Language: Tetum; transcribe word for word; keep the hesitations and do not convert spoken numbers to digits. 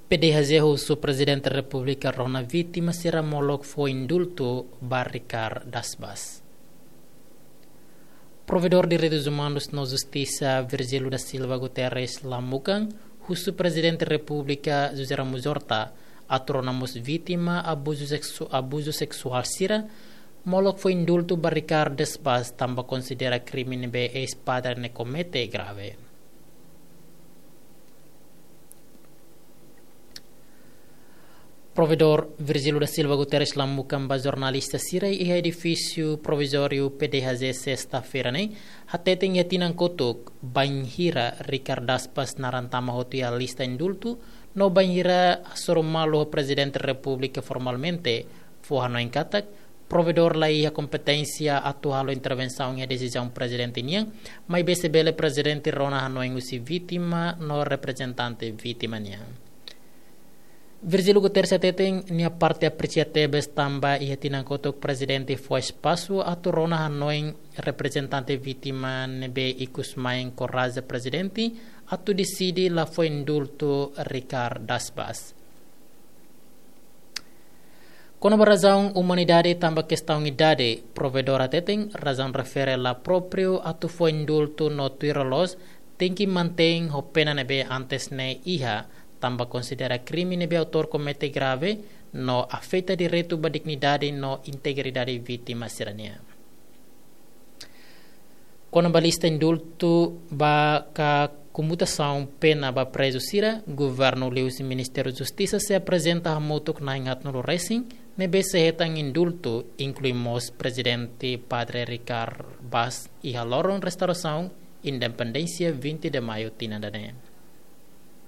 P D H Z husu Prezidente Repúblika rona vítima sira molok fó indultu ba Ricardo das Bas. Provedór Direitus Umanus no Justisa Virgílio da Silva Guterres Lamukan husu Prezidente Repúblika José Ramos Horta atu rona mós vítima abuzu seksu-, abuzu seksuál sira molok fó indultu ba Ricardo das Bas tanba konsidera krime ne'ebé eis-padre ne'e komete grave. Provedór Virgílio da Silva Guterres Lamukan ba jornalista sira iha edifísiu provizóriu P D H Z sesta-feira ne'e, hateten iha tinan kotuk bainhira Ricardo das Bas naran tama hotu iha lista indultu, no bainhira hasoru malu ho Prezidente Repúblika formalmente, fó hanoin katak provedór la iha kompeténsia atu halo intervensaun iha desizaun prezidente nian, maibé se bele prezidente rona hanoin husi vítima no reprezentante vítima nian. Virgílio Guterres hateten nia parte apresia tebes tanba iha tinan kotuk prezidente fó espasu atu rona hanoin reprezentante vítima ne'ebé ikusmai enkoraja prezidente atu deside la fó indultu Ricardo das Bas. Kona-ba razaun umanidade tanba kestaun idade, provedór hateten razaun refere la própriu atu fó indultu no tuir loloos tenke mantein ho pena ne'ebé antes ne'e iha, tanba konsidera krime ne'ebé autór komete grave no afeta direitu ba dignidade no integridade vítima sira-nian. Kona-ba lista indultu ba ka komutasaun pena ba prezu sira, governu liuhusi Ministériu Justisa sei aprezenta hamutuk na'in haatnulu resin ne'ebé sei hetan indultu, inklui mós Prezidente Padre Ricardo Bas iha loron restaurasaun independénsia vinte de Maio tinan ida-ne'e.